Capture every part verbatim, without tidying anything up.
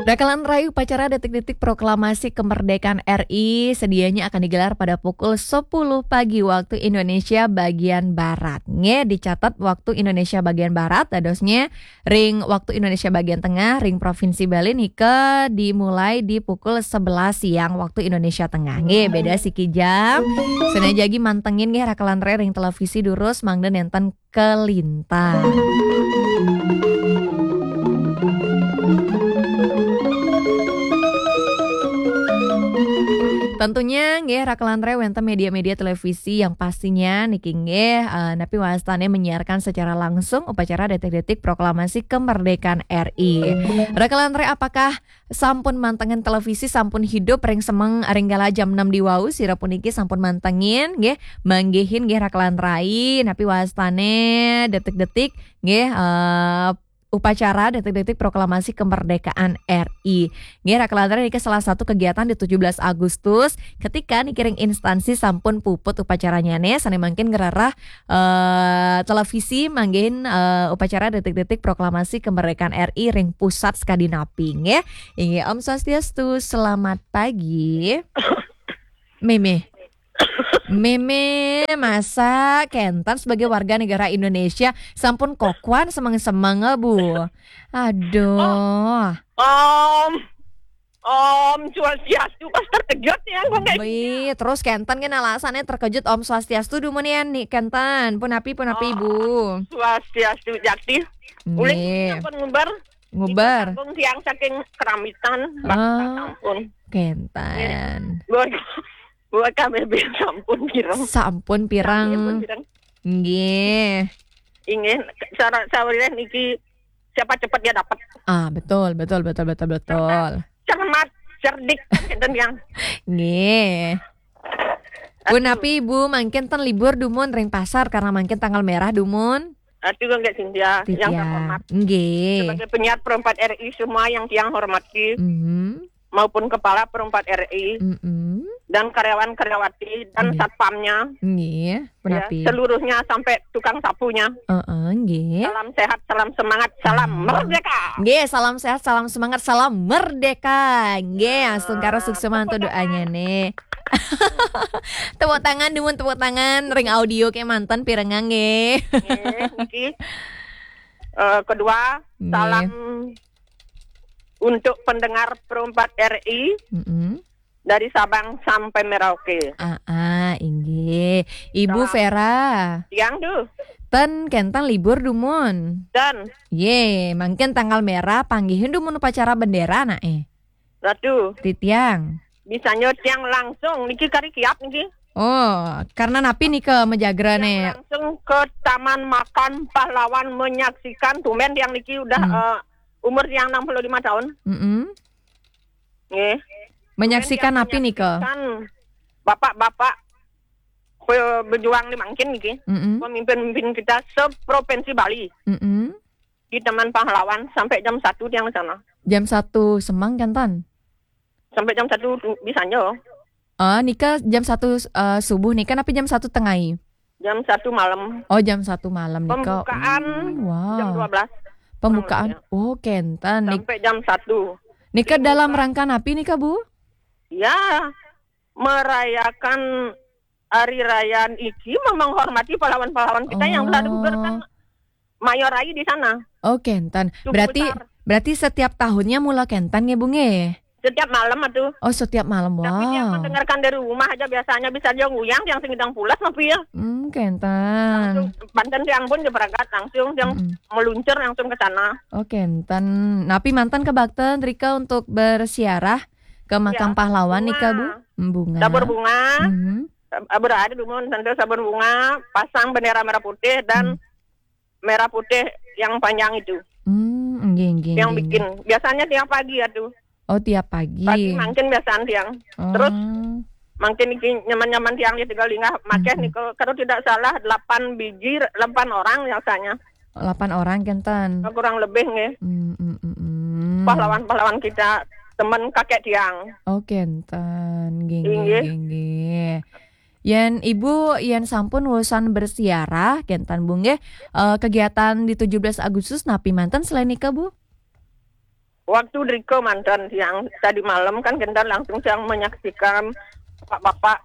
Rakalan rai, upacara detik-detik proklamasi kemerdekaan R I sedianya akan digelar pada pukul sepuluh pagi waktu Indonesia bagian Barat. Nggih, dicatat waktu Indonesia bagian Barat, dadosnya ring waktu Indonesia bagian Tengah, ring Provinsi Bali nika dimulai di pukul sebelas siang waktu Indonesia Tengah. Nggih, beda siki jam. Sane jagi mantengin nggih rakalan rai ring televisi durus mangda nenten kelinta. Tentunya nggih rakalan rai wenten media-media televisi yang pastinya niki nggih, eh, napi wastane menyiarkan secara langsung upacara detik-detik proklamasi kemerdekaan R I. Rakalan rai, apakah sampun mantengin televisi, sampun hidup ring semeng ring kala jam enam di wau, sira puniki sampun mantengin nggih, manggihin nggih rakalan rai napi wastane detik-detik nggih, eh, upacara detik-detik proklamasi kemerdekaan R I. Nggih, rakalan rai, niki salah satu kegiatan di tujuh belas Agustus ketika niki ring instansi sampun puput upacaranyane, sane mangkin ngrereh, eh, televisi manggihin, eh, upacara detik-detik proklamasi kemerdekaan R I ring pusat sekadi napi nggih. Inggih, Om Swastiastu, selamat pagi. Meme. Meme, masa kenten sebagai warga negara Indonesia sampun kokoan semeng-semeng, Bu? Aduh. Om, Om Swastiastu, pas terkejut ya, kok kayak Bi, terus kenten kan alasannya terkejut, Om Swastiastu dumun ya nih kenten. Punapi, punapi, Om Bu? Swastiastu, Jakti. Uling Nggih. Sampun ngubar. Ngubar. Nika sampun tiang saking Keramitan, Mbak, Ah, sampun. Kenten. Buat, buat K B B sampun pirang. Sampun pirang. Sampun pirang. Nggih. Inggih, cara sawireh niki siapa cepat dia dapat. Ah, betul, betul, betul, betul, betul. Cermat, cerdik, kan kenten yang. Nggih. Aduh. Punapi, Bu, mangkin ten libur dumun ring pasar karena mangkin tanggal merah dumun. Aduh, enggak, Cynthia, yang Titiang. Terhormat. Nggih. Sebagai penyiar Pro empat R I semua yang tiang hormati, Mhm. maupun kepala Pro empat R I, Mm-mm. dan karyawan-karyawati, dan Nggih. Satpamnya. Nggih, ya, punapi? Seluruhnya sampai tukang sapunya. Heeh, nggih. Salam sehat, salam semangat, salam Ah. merdeka. Nggih, salam sehat, salam semangat, salam merdeka. Nggih, astungkara suksma mantu doanya nih. Tepuk tangan, dumun tepuk tangan, ring audio ke manten pirengang nggih. Nggih, niki. Eh, kedua, Nggih. Salam untuk pendengar Pro empat R I Mm-mm. dari Sabang sampai Merauke. Ah, ah, inggih. Ibu Salam. Vera. Tiang, duh. Ten kenten libur dumun. Dan. Ye, mangkin tanggal merah panggihin dumun upacara bendera, nak, eh. Ratu. Titiang. Bisanya tiang langsung niki kari kiap niki. Oh, karena napi nika majagra, Tiang nih? Langsung ke Taman Makam Pahlawan menyaksikan, tumben tiang niki udah, Hmm. eh, umur tiang enam puluh lima tahun. Mm-mm. Nggih. Menyaksikan Tumben tiang napi nika? Menyaksikan bapak-bapak pe-, berjuang di mangkin niki. Mm-mm. Pemimpin-pemimpin kita seprovinsi Bali. Mm-mm. Di Taman Pahlawan sampai jam satu tiang di sana. Jam satu semeng kenten? Sampai jam satu tu-, bisanya. Ah, nika jam satu, eh, subuh nika, napi jam satu tengai? Jam satu malam. Oh, jam satu malam nika. Pembukaan Hmm, wow. Jam dua belas. Pembukaan. Kurang lebih. Oh, kenten. Nik-, Sampai jam satu. Nika dalam rangka napi nika, Bu? Ya, merayakan hari raya iki, menghormati pahlawan-pahlawan kita yang telah Oh. digugurkan mayor rai di sana. Oh, kenten. Cukup Berarti, besar. Berarti setiap tahunnya mula kenten nggih, Bu, nggih? Setiap malam atuh. Oh, setiap malam. Tapi tiang Wah. Mendengarkan dari rumah aja biasanya, bisa dia nguyang, tiang sing ngidang pulas, napi ya. Hmm, kenten. Langsung, banten tiang pun jeberagat langsung, tiang Mm-mm. meluncur langsung ke sana. Oh, kenten. Napi manten kebakten rika untuk bersiarah ke makam Ya, pahlawan nika, Bu? Bunga. Hmm, bunga. Tabur bunga. Mhm. Ab-, berada dumun, tentu sabur bunga, pasang bendera merah putih dan Hmm. merah putih yang panjang itu. Hmm, nggih, nggih, Yang nggih, bikin. Nggih. Biasanya tiap pagi atuh. Oh, tiap pagi. Pagi mangkin biasaan tiang. Oh. Terus mangkin iki nyaman-nyaman tiang di Tegalinga, makeh Mhm. nika, kalau tidak salah delapan biji, delapan orang biasanya. Delapan orang kenten. Kurang lebih nggih. Hmm, hmm, hmm, hmm. Pahlawan-pahlawan kita, teman kakek tiang. Oh, kenten. Nggih, nggih, Inggih. Nggih, nggih. Yen Ibu, yen sampun urusan bersiarah, kenten, Bu, nggih. Eh, kegiatan di tujuh belas Agustus napi manten selain nika, Bu? Waktu driko mantan tiang tadi malam kan kentan langsung tiang menyaksikan bapak-bapak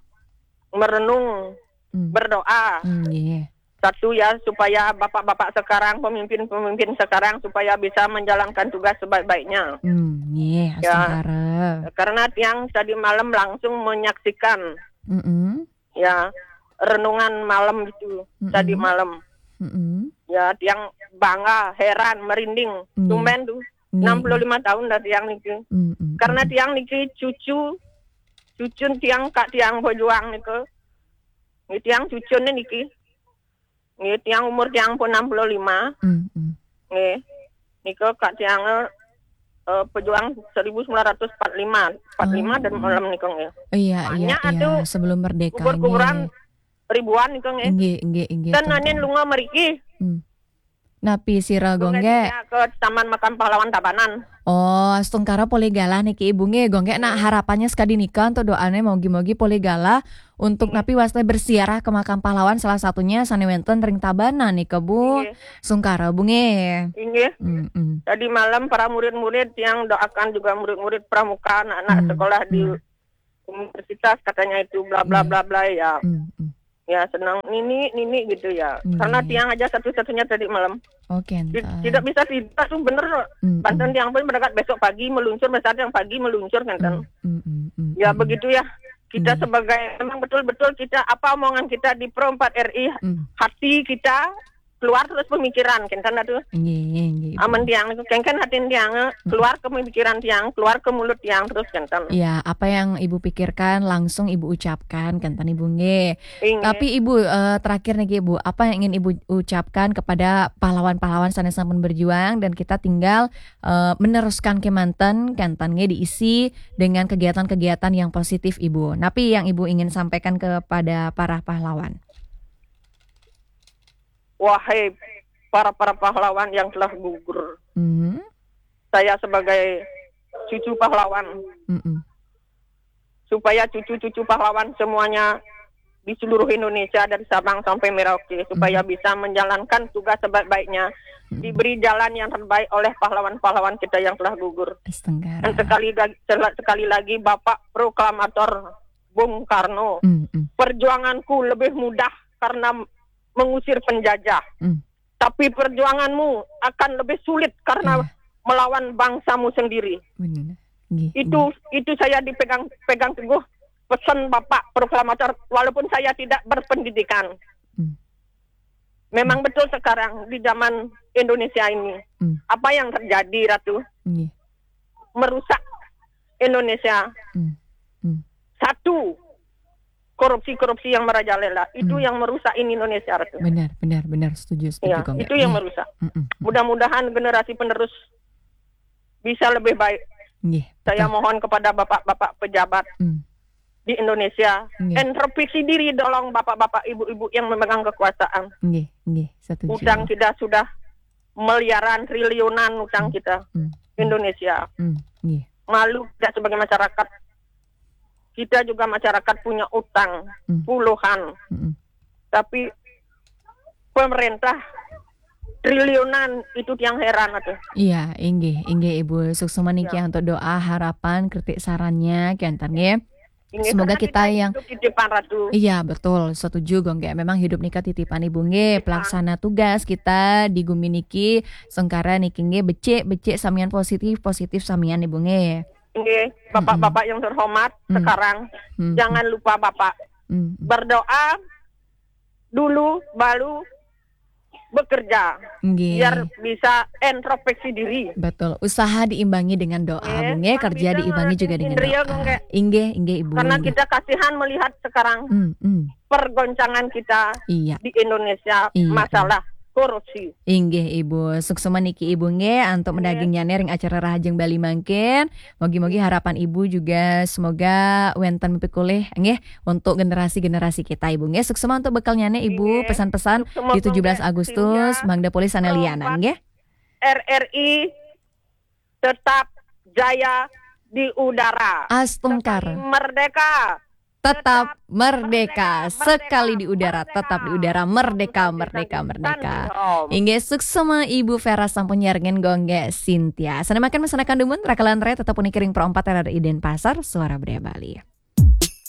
merenung, hmm, berdoa. Hmm, iya. Satu ya, supaya bapak-bapak sekarang, pemimpin-pemimpin sekarang supaya bisa menjalankan tugas sebaik-baiknya. Hmm, iya, ya. Astungkara. Karena tiang tadi malam langsung menyaksikan, mm-mm, ya, renungan malam itu, mm-mm, tadi malam. Mm-mm. Ya, tiang bangga, heran, merinding. Iya. Tumben tuh. Iya, enam puluh lima tahun dah tiang niki. Mm-mm. Karena tiang niki cucu, cucun tiang, kak tiang pejuang niki. Ini tiang cucun niki. Ini tiang umur tiang pun enam puluh lima. Mm-mm. Nggih. Nika kak tiang, eh, pejuang seribu sembilan ratus empat lima, empat lima dan, oh, malam nika nggih. Iya, iya, banyak, iya, atuh, sebelum merdeka, kubur-kuburan nggih, ribuan nika nggih. Nggih, nggih, nggih, dan tentang nanin lunga meriki. Hmm. Napi sira, Gonggek? Gonggek ke Taman Makam Pahlawan Tabanan. Oh, astungkara polih galah niki Ibu nggih. Gonggek nak harapannya sekadi nika untuk doane mogi-mogi polih galah untuk, iya, napi waste bersiarah ke makam pahlawan salah satunya sane wenten ring Tabanan nika, Bu. Iya. Sungkara, Bu nggih. Inggih. Mm-mm. Tadi malam para murid-murid yang doakan juga murid-murid pramuka, anak-anak, mm, sekolah di, mm, universitas katanya itu bla bla, iya, bla bla ya. Mm-mm. Ya, senang nini, nini gitu ya. Iya. Karena tiang aja satu-satunya tadi malam. Oke, ti-, entar tidak bisa tidak tuh bener. Mm-mm. Banten tiang pun berangkat besok pagi meluncur, besok yang pagi meluncur kan. Mm, mm, mm, mm, ya, mm, begitu ya. Kita, iya, sebagai memang betul-betul kita apa omongan kita di Pro empat R I, mm, hati kita keluar terus pemikiran, kenten atuh. Nggih, nggih, nggih, Ibu. Amen tiang niku, kengken hatin tiang, mm, keluar ke pemikiran tiang, keluar ke mulut tiang terus, kenten. Ya, apa yang Ibu pikirkan langsung Ibu ucapkan, kenten Ibu nggih. Inggih. Tapi Ibu, eh, terakhir niki Ibu, apa yang ingin Ibu ucapkan kepada pahlawan-pahlawan sane sampun berjuang dan kita tinggal, eh, meneruskan kemanten, kenten nggih diisi dengan kegiatan-kegiatan yang positif Ibu. Napi yang Ibu ingin sampaikan kepada para pahlawan? Wahai para-para pahlawan yang telah gugur. Mhm. Saya sebagai cucu pahlawan. Mm-mm. Supaya cucu-cucu pahlawan semuanya di seluruh Indonesia dari Sabang sampai Merauke supaya, mm-mm, bisa menjalankan tugas sebaik-baiknya, mm-mm, diberi jalan yang terbaik oleh pahlawan-pahlawan kita yang telah gugur. Astungkara. Dan sekali ga-, sel-, sekali lagi Bapak Proklamator Bung Karno, mm-mm, perjuanganku lebih mudah karena mengusir penjajah. Mm. Tapi perjuanganmu akan lebih sulit karena, iya, melawan bangsamu sendiri. Benar. Nggih, itu, nggih, itu saya dipegang, pegang teguh pesan Bapak Proklamator, walaupun saya tidak berpendidikan. Hmm. Memang, hmm, betul sekarang di zaman Indonesia ini. Hmm. Apa yang terjadi, Ratu? Nggih. Merusak Indonesia. Hmm. Hmm. Satu, korupsi-korupsi yang merajalela. Itu, hmm, yang merusak ini Indonesia, Ratu. Benar, benar, benar. Setuju, setuju, iya, Kong. Itu yang, nggih, merusak. Mm-mm. Mudah-mudahan generasi penerus bisa lebih baik. Nggih, saya betul, mohon kepada bapak-bapak pejabat, hmm, di Indonesia, nggih, introspeksi diri, tolong, bapak-bapak, ibu-ibu yang memegang kekuasaan. Nggih, nggih, setuju. Utang kita sudah miliaran, triliunan utang, hmm, kita, hmm, hmm, Indonesia. Hmm, nggih. Malu kita sebagai masyarakat. Kita juga masyarakat punya utang, hmm, puluhan. Hmm. Tapi pemerintah triliunan, itu tiang heran atuh. Iya, inggih, inggih, Ibu. Suksma niki, ya, untuk doa, harapan, kritik, sarannya, kenten nggih. Inggih, semoga karena kita yang hidup titipan, Ratu. Iya, betul. Setuju, Gonggek. Memang hidup nika titipan Ibu nggih. Titipan. Pelaksana tugas kita di gumi niki, sengkara niki nggih, becik, becik, samian positif, positif, samian Ibu nggih. Nggih, bapak-bapak, mm-mm, yang terhormat, mm, sekarang, mm-mm, jangan lupa Bapak, mm-mm, berdoa dulu, baru bekerja. Nggih. Biar bisa introspeksi diri. Betul. Usaha diimbangi dengan doa, nggih, Bu nggih. Kerja diimbangi juga dengan doa. Nggih, inggih, Ibu. Karena kita kasihan melihat sekarang, mm, mm, pergoncangan kita, iya, di Indonesia, iya, masalah korupsi. Inggih, Ibu. Suksma niki Ibu nggih, antuk, nggih, mendagingnyané ring acara Rahajeng Bali mangkin. Mugi-mugi, nggih, harapan Ibu juga semoga wénten pikolih nggih untuk generasi-generasi kita, Ibu nggih. Suksma untuk bekalnyané, Ibu, nggih, pesan-pesan, suksma di tujuh belas Agustus, sehingga mangda polih sané lianan nggih. R R I tetap jaya di udara. Astungkara. Sekali merdeka, tetap merdeka. Sekali di udara, tetap di udara. Merdeka, merdeka, merdeka. Inggih, suksma Ibu Vera sampun nyarengin Gonggé Sintia. Sané mangkin mesanakan dumun, rakalan ré tetep puniki ring Pro empat R R I Denpasar, Suara Budaya Bali.